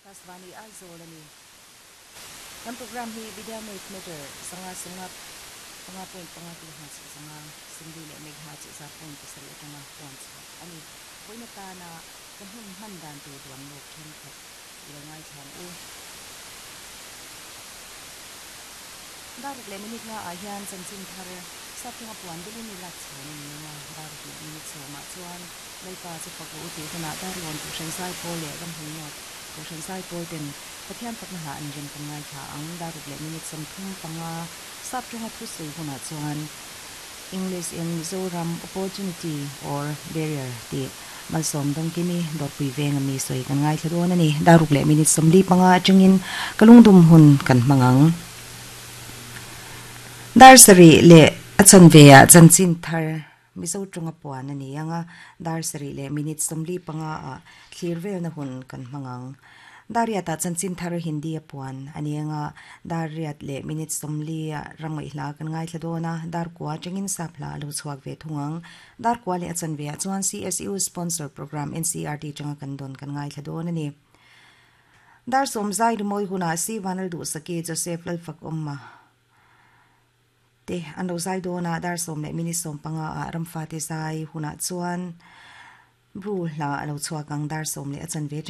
Akashvani Aizawl a ni. Kan programme hi Vidya Wave meter 5 0 5 point 5 kilohertz 5 sawmli leh megahertz 100.7 atanga puan chhuah a ni. Vawiin atana ka hun hman dan tur duan lawk thenkhat i lo ngaithla ang u. Daruk leh minute nga ah hian chanchin thar Sapthawnga puan belin i lak chhawn a ni ang a, daruk leh minute sawmah chuan Lalpa chu fak rawh u tih hunah Darlawn Kohhran Zaipawl leh Ramhun North Kohhran Zaipawl ten Pathian fakna hla an rem kan ngaithla ang. Daruk leh minute 35 Sapthawnga thusawi hunah chuan English in Mizoram Opportunity or Barrier tih Malsawm Dawngkimi Dawrpui veng a mi sawi kan ngaithla dawn a ni. Daruk leh minute 45 atangin ka lungdum hun kan hmang ang. Dar sarih leh a chanve ah chanchin thar Mizo tawnga puan a ni ang a, dar sarih leh minute 45 ah thlir velna hun kan hmang ang. Dar riatah chanchin thar Hindi a puan a ni ang a, dar riat leh minute 40 ah ramngaih hla kan ngaithla dawn a, dar kua atangin sap hla a lo chhuak ve thung ang. Dar kua leh a chanve ah chuan CSU sponsor program NCERT atanga kan dawn kan ngaithla dawn a ni. Dar sawm zai rimawi hunah Si Vanal Duhsaki, Joseph Lalfakawma te an lo zai dawn a, dar sawm leh minute 15 ah Ramfate zai hunah chuan Bru hla a lo chhuak ang, dar sawm leh a chanve atangin.